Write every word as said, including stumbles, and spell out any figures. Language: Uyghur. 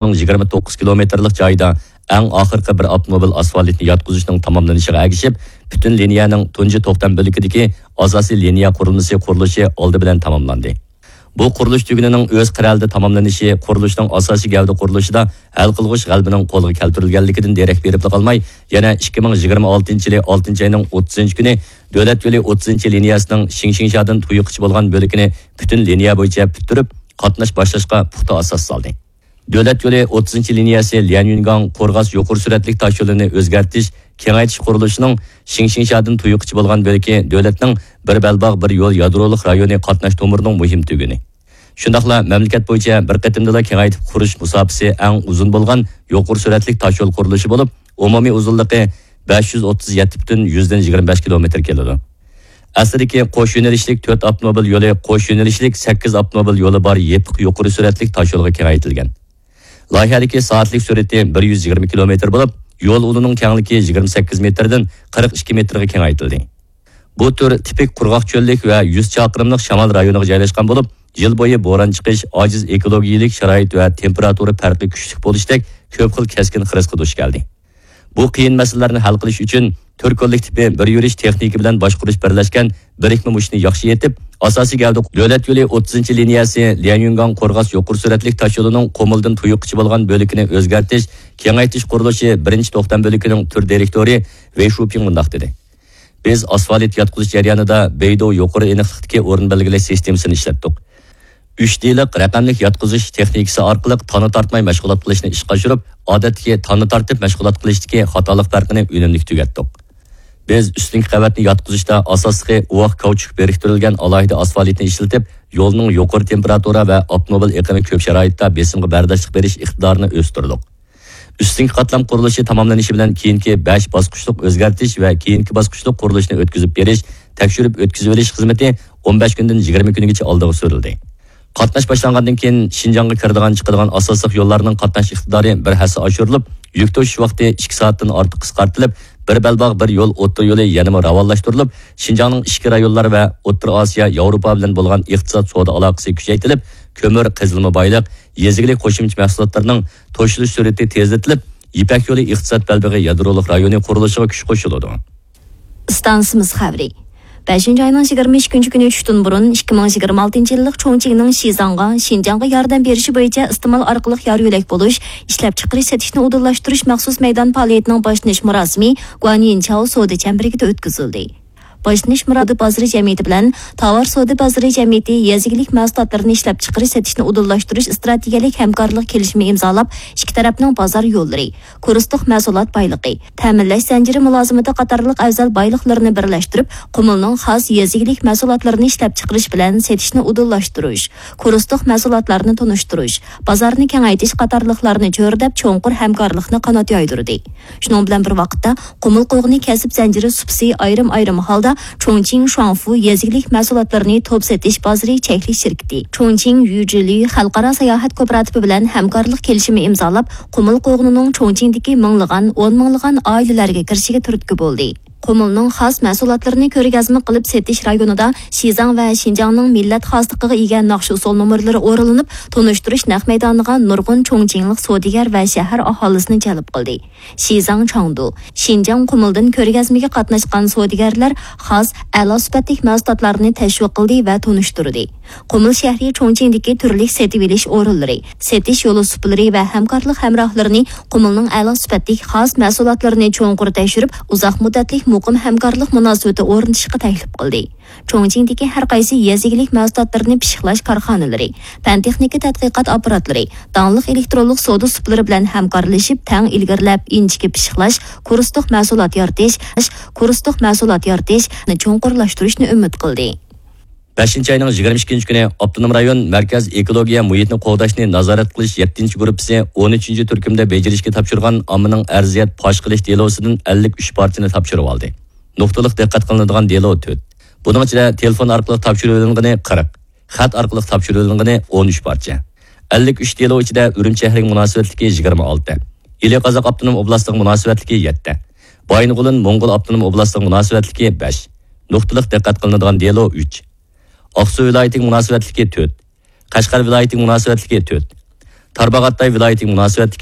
مىڭ يىگىرمە توققۇز كىلومېتىرلىق جايىدا ئەڭ ئاخىرقى بىر ئاپتوموبىل ئاسفالتنى ياتقۇزۇشنىڭ تاماملىنىشىغا ئەگىشىپ، پۈتۈن لىنىيەنىڭ تۇنجى توختام بۆلىكىدىكى ئاساسىي لىنىيە قۇرۇلمىسى قۇرۇلۇشى ئالدى بىلەن تاماملاندى. بۇ قۇرۇلۇش تۈگۈنىنىڭ ئۆز قىرئەلدە تاماملىنىشى قۇرۇلۇشنىڭ ئاساسىي گەۋدە قۇرۇلۇشىدا ھەل قىلغۇچ غەلىبىنىڭ قولغا كەلتۈرۈلگەنلىكىدىن دېرەك بېرىپلا قالماي، يەنە ئىككى مىڭ يىگىرمە ئالتىنچى يىلى ئالتىنچى ئاينىڭ ئوتتۇزىنچى كۈنى دۆلەت يولى ئوتتۇزىنچى لىنىيەسىنىڭ شىڭشىڭشادىن تۇيۇققىچە بولغان بۆلىكىنى پۈتۈن لىنىيە بويىچە پۈتتۈرۈپ، قاتناش باشلاشقا پۇختا ئاساس سالدى. دۆلەت يولى ئوتتۇزىنچى لىنىيەسى ليەنيۈنگاڭ قورغاس يۇقىرى سۈرئەتلىك تاشيولىنى ئۆزگەرتىش، كېڭەيتىش قۇرۇلۇشىنىڭ شىڭشىڭشادىن تۇيۇققىچە بولغان بۆلىكى دۆلەتنىڭ بىر بەلباغ، بىر يول يادرولۇق رايونى قاتناش تومۇرىنىڭ مۇھىم تۈگۈنى. شۇنداقلا مەملىكەت بويىچە بىر قېتىمدىلا كېڭەيتىپ قۇرۇش مۇساپىسى ئەڭ ئۇزۇن بولغان يۇقىرى سۈرئەتلىك تاشيول قۇرۇلۇشى بولۇپ، ئومۇمىي ئۇزۇنلۇقى بەش يۈز ئوتتۇز يەتتە پۈتۈن يۈزدىن يىگىرمە بەش كىلومېتىر كېلىدۇ. ئەسلىدىكى قوش يۆنىلىشلىك تۆت ئاپتوموبىل يولى قوش يۆنىلىشلىك سەككىز ئاپتوموبىل يولى بار يېپىق يۇقىرى سۈرئەتلىك تاشيولغا كېڭەيتىلگەن. لايىھەدىكى سائەتلىك سۈرئىتى بىر يۈز يىگىرمە كىلومېتىر بولۇپ، يول ئۇلىنىڭ كەڭلىكى يىگىرمە سەككىز مېتىردىن قىرىق ئىككى مېتىرغا كېڭەيتىلدى. بۇ تۈر تىپىك قۇرغاق چۆللۈك ۋە يۈز چاقىرىملىق شامال رايونىغا جايلاشقان بولۇپ، يىل بويى بوران چىقىش، ئاجىز ئېكولوگىيەلىك شارائىت ۋە تېمپېراتۇرا پەرقى كۈچلۈك بولۇشتەك كۆپ خىل كەسكىن خىرىسقا دۇچ كەلدى. بۇ قىيىن مەسىلىلەرنى ھەل قىلىش ئۈچۈن تۈر كوللېكتىپى بىر يۈرۈش تېخنىكا بىلەن باشقۇرۇش بىرلەشكەن بىرىكمە مۇشتنى ياخشى ئېيتىپ، ئاساسىي گەۋدە دۆلەت يولى ئوتتۇزىنچى لىنىيەسى ليەنيۈنگاڭ قورغاس يۇقىرى سۈرئەتلىك تاشيولىنىڭ قۇمۇلدىن تۇيۇققىچە بولغان بۆلىكىنى ئۆزگەرتىش، كېڭەيتىش قۇرۇلۇشى بىرىنچى توختام بۆلىكىنىڭ تۈر دىرېكتورى ۋېي شۇپىڭ مۇنداق دېدى: بىز ئاسفالت ياتقۇزۇش جەريانىدا بەيدۇ يۇقىرى ئېنىقلىقتىكى ئورۇن بەلگىلەش سىستېمىسىنى ئىشلەتتۇق. ئۈچ دىلىق رەقەملىك ياتقۇزۇش تېخنىكىسى ئارقىلىق تانا تارتماي مەشغۇلات قىلىشنى ئىشقا ئاشۇرۇپ، ئادەتتىكى تانا تارتىپ مەشغۇلات قىلىشتىكى خاتالىق پەرقىنى ئۈنۈملۈك تۈگەتتۇق. بىز ئۈستۈنكى قەۋەتنى ياتقۇزۇشتا ئاساسلىقى ئۇۋاق كاۋچۇك بىرىكتۈرۈلگەن ئالاھىدە ئاسفالتنى ئىشلىتىپ، يولنىڭ يۇقىرى تېمپېراتۇرا ۋە ئاپتوموبىل ئېقىمى كۆپ شارائىتتا بېسىمغا بەرداشلىق بېرىش ئىقتىدارىنى ئۆستۈردۇق. ئۈستۈنكى قاتلام قۇرۇلۇشى تاماملىنىشى بىلەن كېيىنكى بەش باسقۇچلۇق ئۆزگەرتىش ۋە كېيىنكى باسقۇچلۇق قۇرۇلۇشنى ئۆتكۈزۈپ بېرىش، تەكشۈرۈپ ئۆتكۈزۈۋېلىش خىزمىتى ئون بەش كۈندىن يىگىرمە كۈنگىچە ئالدىغا سۈرۈلدى. قاتناش باشلانغاندىن كېيىن، شىنجاڭغا كىرىدىغان، چىقىدىغان ئاساسلىق يوللارنىڭ قاتناش ئىقتىدارى بىر ھەسسە ئاشۇرۇلۇپ، يۈك توشۇش ۋاقتى ئىككى سائەتتىن ئارتۇق قىسقارتىلىپ، بىر بەلباغ، بىر يول ئوتتۇرا يولى يەنىمۇ راۋانلاشتۇرۇلۇپ، شىنجاڭنىڭ ئىچكى رايونلار ۋە ئوتتۇرا ئاسىيا، ياۋروپا بىلەن بولغان ئىقتىساد سودا ئالاقىسى كۈچەيتىلىپ، كۆمۈر، قېزىلما بايلىق، يېزا ئىگىلىك قوشۇمچە مەھسۇلاتلىرىنىڭ توشۇلۇش سۈرئىتى تېزلىتىلىپ، يىپەك يولى ئىقتىساد بەلبېغى يادرولۇق رايونى قۇرۇلۇشىغا كۈچ قوشۇلىدۇ. ئىستانسىمىز خەۋىرى. بەشىنچى ئاينىڭ يىگىرمە ئىككىنچى كۈنى چۈشتىن بۇرۇن، ئىككى مىڭ يىگىرمە ئالتىنچى يىللىق چۇڭچىڭنىڭ شىزاڭغا، شىنجاڭغا ياردەم بېرىشى بويىچە ئىستېمال ئارقىلىق يار يۆلەك بولۇش، ئىشلەپچىقىرىش سېتىشنى ئۇدۇللاشتۇرۇش مەخسۇس مەيدان پائالىيىتىنىڭ باشلىنىش مۇراسىمى گۇەنيىنچاۋ سودا چەمبىرىكىدە ئۆتكۈزۈلدى. باشلىنىش مۇراسىمىدا بازىرى جەمئىيىتى بىلەن تاۋار سودا بازىرى جەمئىيىتى يېزا ئىگىلىك مەھسۇلاتلىرىنى ئىشلەپچىقىرىش سېتىشنى ئۇدۇللاشتۇرۇش ئىستراتېگىيەلىك ھەمكارلىق كېلىشىمى ئىمزالاپ، ئىككى تەرەپنىڭ بازار يوللىرى، كۇرسلۇق مەھسۇلات بايلىقى، تەمىنلەش زەنجىرى مۇلازىمىتى قاتارلىق ئەۋزەل بايلىقلىرىنى بىرلەشتۈرۈپ، قۇمۇلنىڭ خاس يېزا ئىگىلىك مەھسۇلاتلىرىنى ئىشلەپچىقىرىش بىلەن سېتىشنى ئۇدۇللاشتۇرۇش، كۇرسلۇق مەھسۇلاتلارنى تونۇشتۇرۇش، بازارنى كېڭەيتىش قاتارلىقلارنى چۆرىدەپ، چوڭقۇر ھەمكارلىقنى قانات يايدۇرىدى. شۇنىڭ بىلەن بىر ۋاقىتتا، قۇمۇل قوغۇنى كەسىپ زەنجىرى سۇپىسى ئايرىم-ئايرىم ھالدا چۇڭچىڭ شۇاڭفۇ يېزا ئىگىلىك مەھسۇلاتلىرىنى توپ سېتىش بازىرى چەكلىك شىركىتى، چۇڭچىڭ يۈجىلۈ خەلقئارا ساياھەت كوپىراتىپى بىلەن ھەمكارلىق كېلىشىمى ئىمزالاپ، قۇمۇل قوغۇنىنىڭ چۇڭچىڭدىكى مىڭلىغان، ئون مىڭلىغان ئائىلىلەرگە كىرىشىگە تۈرتكە بولدى. قۇمۇلنىڭ خاس مەھسۇلاتلىرىنى كۆرگەزمە قىلىپ سېتىش رايونىدا شىزاڭ ۋە شىنجاڭنىڭ مىللەت خاسلىقىغا ئىگە ناخشا-ئۇسسۇل نومۇرلىرى ئورۇنلىنىپ، تونۇشتۇرۇش نەق مەيدانىغا نۇرغۇن چۇڭچىڭلىق سودىگەر ۋە شەھەر ئاھالىسىنى جەلپ قىلدى. شىزاڭ چاڭدۇ، شىنجاڭ قۇمۇلدىن كۆرگەزمىگە قاتناشقان سودىگەرلەر خاس، ئەلا سۈپەتلىك مەھسۇلاتلارنى تەشۋىق قىلدى ۋە تونۇشتۇردى. قۇمۇل شەھىرى چۇڭچىڭدىكى تۈرلۈك سېتىۋېلىش ئورۇنلىرى، سېتىش يولى سۇپىلىرى ۋە ھەمكارلىق ھەمراھلىرىنى قۇمۇلنىڭ ئەلا سۈپەتلىك خاس مەھسۇلاتلىرىنى چوڭقۇر تەكشۈرۈپ، ئۇزاق مۇددەتلىك مۇقىم ھەمكارلىق مۇناسىۋىتى ئورنىتىشقا تەكلىپ قىلدى. چۇڭچىڭدىكى ھەر قايسى يېزا ئىگىلىك مەھسۇلاتلىرىنى پىششىقلاش كارخانىلىرى، پەن-تېخنىكا تەتقىقات ئاپپاراتلىرى، داڭلىق ئېلېكترونلۇق سودا سۇپىلىرى بىلەن ھەمكارلىشىپ، تەڭ ئىلگىرىلەپ، ئىنچىكە پىششىقلاش، كۇرسلۇق مەھسۇلات يارىتىش، كۇرسلۇق مەھسۇلات يارىتىشنى چوڭقۇرلاشتۇرۇشنى ئۈمىد قىلدى. بەشىنچى ئاينىڭ يىگىرمە ئىككىنچى كۈنى ئاپتونوم رايون مەركەز ئېكولوگىيە مۇھىتنى قوغداشنى نازارەت قىلىش يەتتىنچى گۇرۇپپىسى ئون ئۈچىنچى تۈركۈمدە بېجىرىشكە تاپشۇرغان ئاممىنىڭ ئەرزىيەت پاش قىلىش دېلوسىدىن ئەللىك ئۈچ پارچىنى تاپشۇرۇۋالدى. نۇقتىلىق دىققەت قىلىنىدىغان دېلو تۆت. بۇنىڭ ئىچىدە تېلېفون ئارقىلىق تاپشۇرۇۋېلىنغىنى قىرىق، خەت ئارقىلىق تاپشۇرۇۋېلىنغىنى ئون ئۈچ پارچە. ئەللىك ئۈچ دېلو ئىچىدە ئۈرۈمچى شەھىرىگە مۇناسىۋەتلىكى يىگىرمە ئالتە، ئىلى قازاق ئاپتونوم ئوبلاستىغا مۇناسىۋەتلىكى يەتتە، بايىنغولىن موڭغۇل ئاپتونوم ئوبلاستىغا مۇناسىۋەتلىكى بەش، نۇقتىلىق دىققەت قىلىنىدىغان دېلو ئۈچ، ئاقسۇ ۋىلايىتىگە مۇناسىۋەتلىكى تۆت، قەشقەر ۋىلايىتىگە مۇناسىۋەتلىكى تۆت، تارباغاتاي ۋىلايىتىگە مۇناسىۋەتلىك